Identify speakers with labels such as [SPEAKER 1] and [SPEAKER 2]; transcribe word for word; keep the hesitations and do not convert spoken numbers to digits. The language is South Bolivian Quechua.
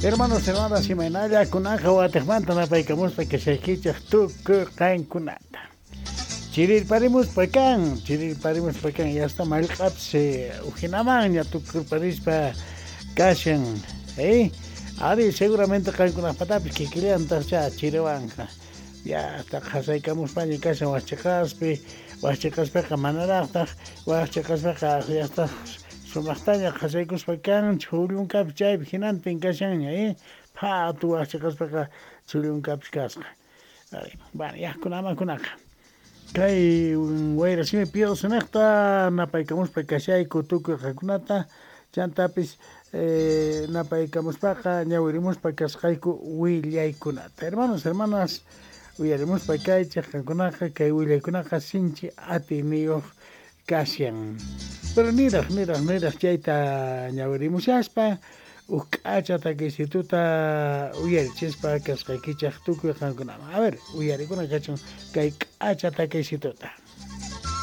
[SPEAKER 1] Hermanos, hermanas, imaynalla kunaqa watiqmanta napaykamuspa kashaykichej tukuy qankunata. Chirirparimuspa kan, chirirparimuspa kan, ya está mallq'apis ujinamanña tukurparispa kashan, eh? Ari, seguramente qankunaqpatapis kikillantaq chiriwanqa. Ya hasta qhasaykamuspaña kashan wajchiqaspi, wajchiqaspaqa manaraqtaq, wajchiqaspaqa ya está sumaqtaña qhasaykuspa kan, chhullunkapis chaypi hinantin kashanña, eh? Phatu wajchiqaspaqa chhullunkapis kasqa. Bueno, yaqkunamakunaqa. Kay wayrasimi piyosinejta napaykamuspa kashayku tukuy qankunata, chantapis eh, napaykamuspaqa ñawirimuspa kasqayku willaykunata. Hermanos, hermanas, uyarimuspa kaychej qankunaqa kay willaykunaqa sinchi atiyniyuq kashan. Pero niraj, niraj, niraj chayta ñawirimushaspa uj k'acha takiysituta uyarichispa kasqaykichej tukuy qankunaman. A ver, uyarikuna kachun kay k'acha takiysituta.